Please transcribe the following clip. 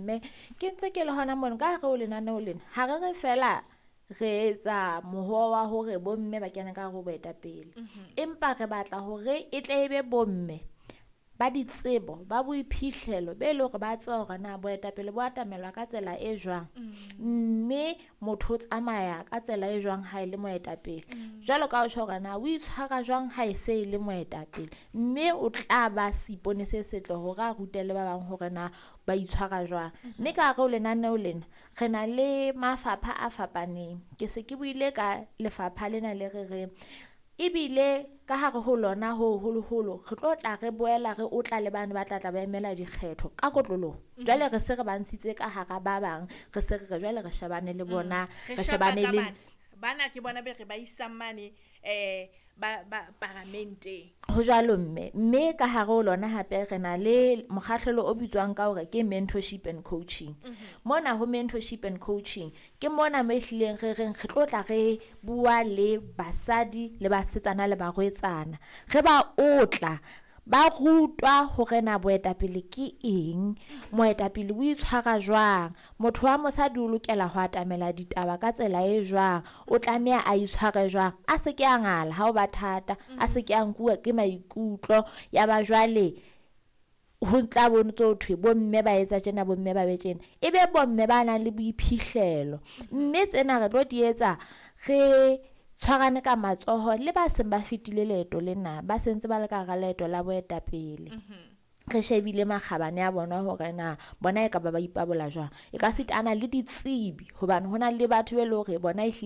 Mme ke ntse ke le hona mono ka hare ho lenaneo lena, ha re re fela re etsa mohoo wa hore bomme ba kene ka hare ho boetapele, empa re batla hore e tle e be bomme ba ditsebo, ba boiphihlelo be leng hore ba tseba hore na boetapele bo atamelwa ka tsela e jwang, mme motho o tsamaya ka tsela e jwang ha e le moetapele. Jwalo ka o tjho hore na o itshwara jwang ha e se e le moetapele, mme o tla ba seipone se setle hore a rute le ba bang hore na ba itshwara jwang. Mme ka hare ho lenaneo lena re na le mafapha a fapaneng. Ke se ke buile ka lefapha lena le re reng ebile ka hare ho lona ho holoholo re tlo tla re boela re otla le bane ba tla tla ba emela dikgetho ka kotloloho. Jwale re se re ba ntshitse ka hara ba bang, re se re re jwale re shebane le bona, Re re shapa shebane ka le bana. Bana ke bona be re ba isang mane ba paramenteng. Ho jwalo mme, mme ka hare ho lona hape re na le mokgahlelo o bitswang ka hore ke mentorship and coaching. Mona ho mentorship and coaching ke mona mo ehlileng re reng re tlo tla re bua le basadi le basetsana le barwetsana, re ba otla ba rutwa hore na boetapele ke eng, moetapele o itshwara jwang, motho wa mosadi o lokela ho atamela ditaba ka tsela e jwang, o tlameha a itshware jwang, a se ke a ngala ha o ba thata, a se ke a nkuwa ke maikutlo ya ba jwale ho tla bo ntso thwe bomme ba etsa tjena, bomme ba be tjena, e be bomme ba nang le boiphihlelo. Mme tsena re tlo di etsa re tshwarane ka matsoho le ba seng ba fetile leeto lena, ba sentse ba le ka hara leeto la boetapele. Re shebile makgabane a bona hore na bona e ka ba ba ipabola jwang, e ka sitana le ditsebi hobane hona le batho be leng hore bona ehlile.